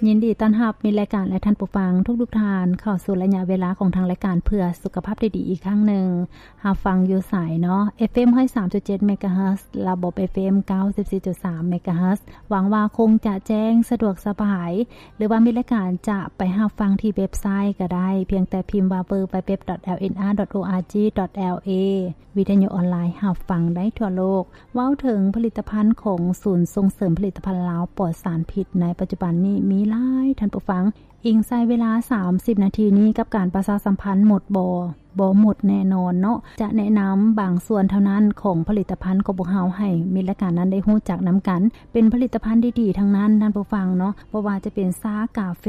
ຍິນດີຕ້ອນຮັບມິດລາຍການ ແລະ ທ່ານຜູ້ຟັງທຸກໆທ່ານ ເຂົ້າສູ່ໄລຍະເວລາຂອງທາງລາຍການເພື່ອສຸຂະພາບທີ່ດີອີກຄັ້ງໜຶ່ງ. ຮັບຟັງຢູ່ໃສເນາະ? ເອຟເອັມຮ້ອຍສາມຈຸດເຈັດເມກາເຮີດ ລະບົບເອຟເອັມເກົ້າສິບສີ່ຈຸດສາມເມກາເຮີດ. ຫວັງວ່າຄົງຈະແຈ້ງສະດວກສະບາຍ ຫຼືວ່າມິດລາຍການຈະໄປຮັບຟັງທີ່ເວັບໄຊກໍໄດ້ ພຽງແຕ່ພິມວ່າ www.lnr.org.la ວິທະຍຸອອນລາຍຮັບຟັງໄດ້ທົ່ວໂລກ. ເວົ້າເຖິງຜະລິດຕະພັນຂອງສູນສົ່ງເສີມຜະລິດຕະພັນລາວປອດສານພິດ ໃນປັດຈຸບັນນີ້ມີຫຼາຍ ທ່ານຜູ້ຟັງ. ອີງໃສ່ເວລາສາມສິບນາທີນີ້ກັບການປະຊາສຳພັນໝົດບໍ່? ບໍ່ໝົດແນ່ນອນເນາະ. ຈະແນະນຳບາງສ່ວນເທົ່ານັ້ນຂອງຜະລິດຕະພັນຂອງພວກເຮົາ ໃຫ້ມິດລາຍການນັ້ນໄດ້ຮູ້ຈັກນຳກັນ. ເປັນຜະລິດຕະພັນດີໆທັງນັ້ນ ທ່ານຜູ້ຟັງເນາະ, ບໍ່ວ່າຈະເປັນຊາກາເຟ.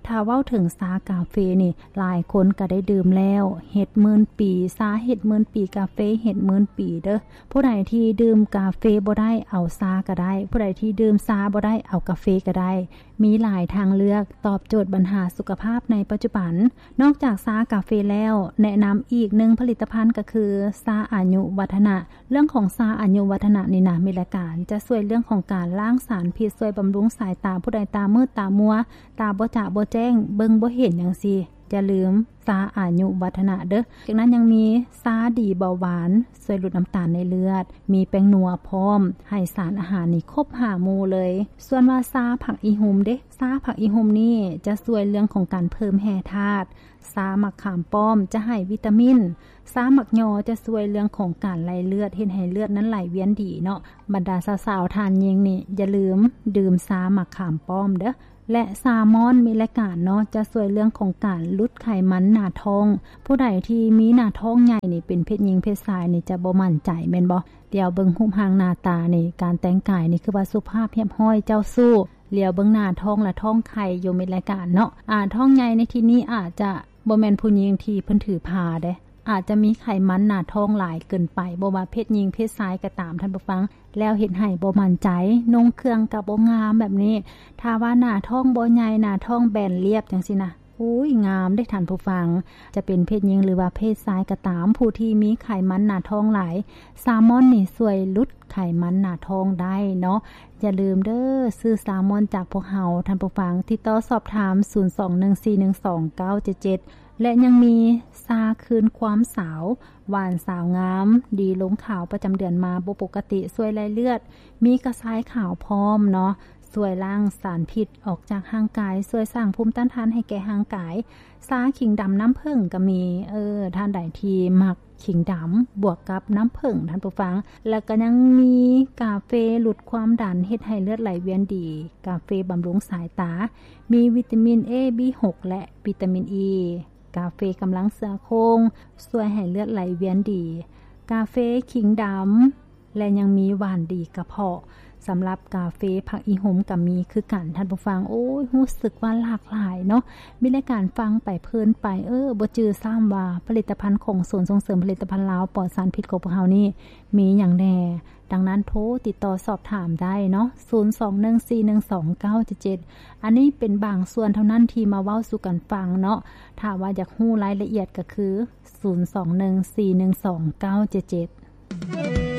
ຖ້າເວົ້າເຖິງຊາກາເຟນີ້ ຫຼາຍຄົນກໍໄດ້ດື່ມແລ້ວ. ເຮັດໝື່ນປີ, ຊາເຮັດໝື່ນປີ, ກາເຟເຮັດໝື່ນປີເດີ້. ຜູ້ໃດທີ່ດື່ມກາເຟບໍ່ໄດ້ ເອົາຊາກໍໄດ້, ຜູ້ໃດທີ່ດື່ມຊາບໍ່ໄດ້ ເອົາກາເຟກໍໄດ້. ມີຫຼາຍທາງເລືອກຕອບໂຈດບັນຫາສຸຂະພາບໃນປັດຈຸບັນ. ນອກຈາກຊາກາເຟແລ້ວ, ແນະນຳອີກໜຶ່ງຜະລິດຕະພັນກໍຄືຊາອາຍຸວັດທະນະ. ເລື່ອງຂອງຊາອາຍຸວັດທະນະນີ້ນະ ມິດລາຍການ ຈະຊ່ວຍເລື່ອງຂອງການລ້າງສານພິດ, ຊ່ວຍບຳລຸງສາຍຕາ, ຜູ້ໃດຕາມືດຕາມົວ, ຕາບໍ່ຈະບໍ່ແຈ້ງ, ເບິ່ງບໍ່ເຫັນຈັ່ງຊີ້, ຢ່າລືມຊາອາຍຸວັດທະນະເດີ້. ຈາກນັ້ນຍັງມີຊາດີເບົາຫວານ, ຊ່ວຍຫຼຸດນ້ຳຕານໃນເລືອດ, ມີແປ້ງນົວພ້ອມ, ໃຫ້ສານອາຫານນີ້ຄົບຫ້າໝູ່ເລີຍ. ສ່ວນວ່າຊາຜັກອີ່ຫຸ່ມເດ, ຊາຜັກອີ່ຫຸ່ມນີ້ຈະຊ່ວຍເລື່ອງຂອງການເພີ່ມແຮ່ທາດ, ຊາໝາກຂາມປ້ອມຈະໃຫ້ວິຕາມິນ, ຊາໝາກຍໍຈະຊ່ວຍເລື່ອງຂອງການໄຫຼເລືອດ, ເຮັດໃຫ້ເລືອດນັ້ນໄຫຼວຽນດີເນາະ. ບັນດາສາວໆທ່ານຍິງນີ້ ຢ່າລືມດື່ມຊາໝາກຂາມປ້ອມເດີ້. ແລະ ຊາມອນມີລາຍການເນາະ ຈະຊ່ວຍເລື່ອງຂອງການຫຼຸດໄຂມັນໜ້າທ້ອງ. ຜູ້ໃດທີ່ມີໜ້າທ້ອງໃຫຍ່ນີ້ ເປັນເພດຍິງເພດຊາຍນີ້ ຈະບໍ່ໝັ້ນໃຈແມ່ນບໍ່? ດຽວເບິ່ງຮູບຮ່າງໜ້າຕານີ້ ການແຕ່ງກາຍນີ້ ຄືວ່າສຸພາບຮຽບຮ້ອຍເຈົ້າຊູ້. ຫຼຽວເບິ່ງໜ້າທ້ອງລະທ້ອງໄຂ່ຢູ່ ມິດລາຍການເນາະ. ອາ ທ້ອງໃຫຍ່ໃນທີ່ນີ້ອາດຈະບໍ່ແມ່ນຜູ້ຍິງທີ່ເພິ່ນຖືພາເດ້. ອາດຈະມີໄຂມັນໜ້າທ້ອງຫຼາຍເກີນໄປ, ບໍ່ວ່າເພດຍິງເພດຊາຍກໍຕາມ ທ່ານຜູ້ຟັງ, ແລ້ວເຮັດໃຫ້ບໍ່ໝັ້ນໃຈ, ນຸ່ງເຄື່ອງກໍບໍ່ງາມແບບນີ້. ຖ້າວ່າໜ້າທ້ອງບໍ່ໃຫຍ່, ໜ້າທ້ອງແບນລຽບຈັ່ງຊີ້ນະ, ອຸ້ຍ ງາມເດ້ທ່ານຜູ້ຟັງ. ຈະເປັນເພດຍິງ ຫຼືວ່າເພດຊາຍກໍຕາມ, ຜູ້ທີ່ມີໄຂມັນໜ້າທ້ອງຫຼາຍ, ຊາມອນນີ້ຊ່ວຍຫຼຸດໄຂມັນໜ້າທ້ອງໄດ້ເນາະ. ຢ່າລືມເດີ້, ຊື້ຊາມອນຈາກພວກເຮົາ, ທ່ານຜູ້ຟັງ, ຕິດຕໍ່ສອບຖາມ ສູນສອງໜຶ່ງສີ່ໜຶ່ງສອງເກົ້າເຈັດເຈັດ. ແລະ ຍັງມີຊາຄືນຄວາມສາວ, ຫວານສາວງາມ, ດີລົງຂາວປະຈຳເດືອນມາບໍ່ປົກກະຕິ, ຊ່ວຍໄລ່ເລືອດ, ມີກະຊາຍຂາວພ້ອມເນາະ, ຊ່ວຍລ້າງສານພິດອອກຈາກຮ່າງກາຍ, ຊ່ວຍສ້າງພູມຕ້ານທານໃຫ້ແກ່ຮ່າງກາຍ. ຊາຂີງດຳນ້ຳເຜິ້ງກໍມີ, ເອີ, ທ່ານໃດທີ່ມັກ ຂີງດຳບວກກັບນ້ຳເຜິ້ງ ທ່ານຜູ້ຟັງ. ແລ້ວກໍຍັງມີກາເຟຫຼຸດຄວາມດັນ ເຮັດໃຫ້ເລືອດໄຫຼວຽນດີ, ກາເຟບຳລຸງສາຍຕາ, ມີວິຕາມິນ A B ຫົກ ແລະ ວິຕາມິນ E, ກາເຟກຳລັງເຊື້ອໂຄງ ຊ່ວຍໃຫ້ເລືອດໄຫຼວຽນດີ, ກາເຟຂີງດຳ ແລະ ຍັງມີຫວານດີກະເພາະ. ສຳລັບກາເຟຜັກອີ່ຫຸ່ມກໍມີຄືກັນ ທ່ານຜູ້ຟັງ. ໂອ້ຍ ຮູ້ສຶກວ່າຫຼາກຫຼາຍເນາະ, ມີລາຍການຟັງໄປເພີນໄປ, ເອີ ບໍ່ຈື່ຊ້ຳວ່າຜະລິດຕະພັນຂອງສູນສົ່ງເສີມຜະລິດຕະພັນລາວປອດສານພິດຂອງພວກເຮົານີ້ມີຫຍັງແດ່. ດັ່ງນັ້ນ ໂທຕິດຕໍ່ສອບຖາມໄດ້ເນາະ, ສູນສອງໜຶ່ງສີ່ໜຶ່ງສອງເກົ້າເຈັດເຈັດ. ອັນນີ້ເປັນບາງສ່ວນເທົ່ານັ້ນທີ່ມາເວົ້າສູ່ກັນຟັງເນາະ, ຖ້າວ່າຢາກຮູ້ລາຍລະອຽດກໍຄື ສູນສອງໜຶ່ງສີ່ໜຶ່ງສອງເກົ້າເຈັດເຈັດ.